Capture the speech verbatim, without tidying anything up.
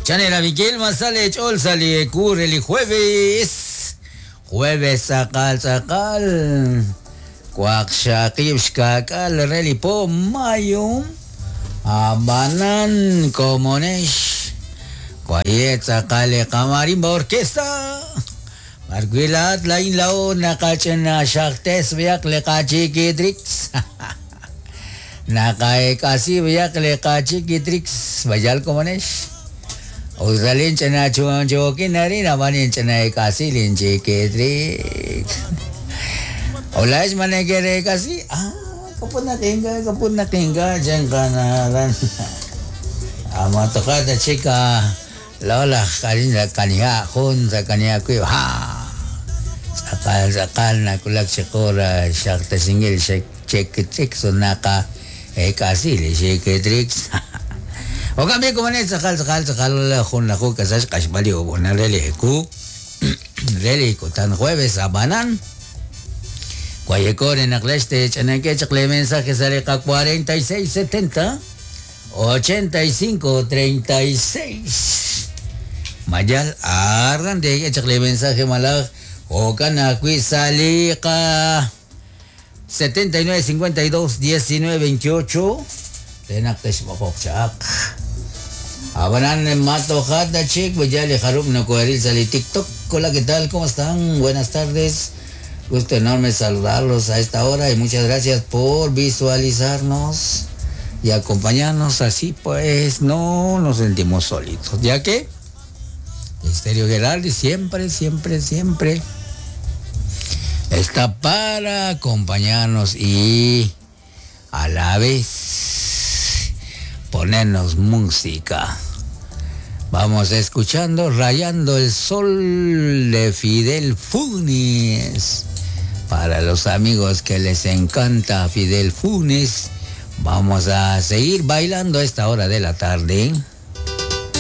Chanela Miguel Masale Chol sale curre el jueves. Jueves sakal sakal. Kwak shakib shkakal relipo mayo. Abanan komonesh. Kwayet sakale kamarimba orquesta. Marguilat lain lao nakachena shaktes biak lekachikidrix. Nakaekasi biak lekachikidrix. Bayal komonesh. Uzalin chana chuan chokin nari nabanin chana ekasi lin chikidrix. Hola es manegere kasi. Ah, kapun na kinga, kapun na kinga diyan ka na ran. Ama tokada chica. Lola kaniha kaniha kun sa kaniha kuyo ha. Sakal sakal na kulak sikora shakta singil shek check check so naka ekasi le chikidrix. O kami kumane sakal sakal sakal jun naku kasash kashbali obona rele ku rele tan jueves abanan. Guayecor en Agleste, Chananque, Chacle, mensaje sale cuarenta y seis setenta ochenta y cinco treinta y seis. Mayal arran de chacle mensaje malaj ocana cuisalica setenta y nueve cincuenta y dos diecinueve veintiocho. Tenaktesh bokchak. Abanan mato jata chic, bayale jarup no coheril sali TikTok. Hola, ¿qué tal? ¿Cómo están? Buenas tardes. Gusto enorme saludarlos a esta hora y muchas gracias por visualizarnos y acompañarnos. Así pues, no nos sentimos solitos, ya que Estéreo Geraldi siempre, siempre, siempre está para acompañarnos y a la vez ponernos música. Vamos escuchando Rayando el Sol de Fidel Funes. Para los amigos que les encanta Fidel Funes, vamos a seguir bailando a esta hora de la tarde.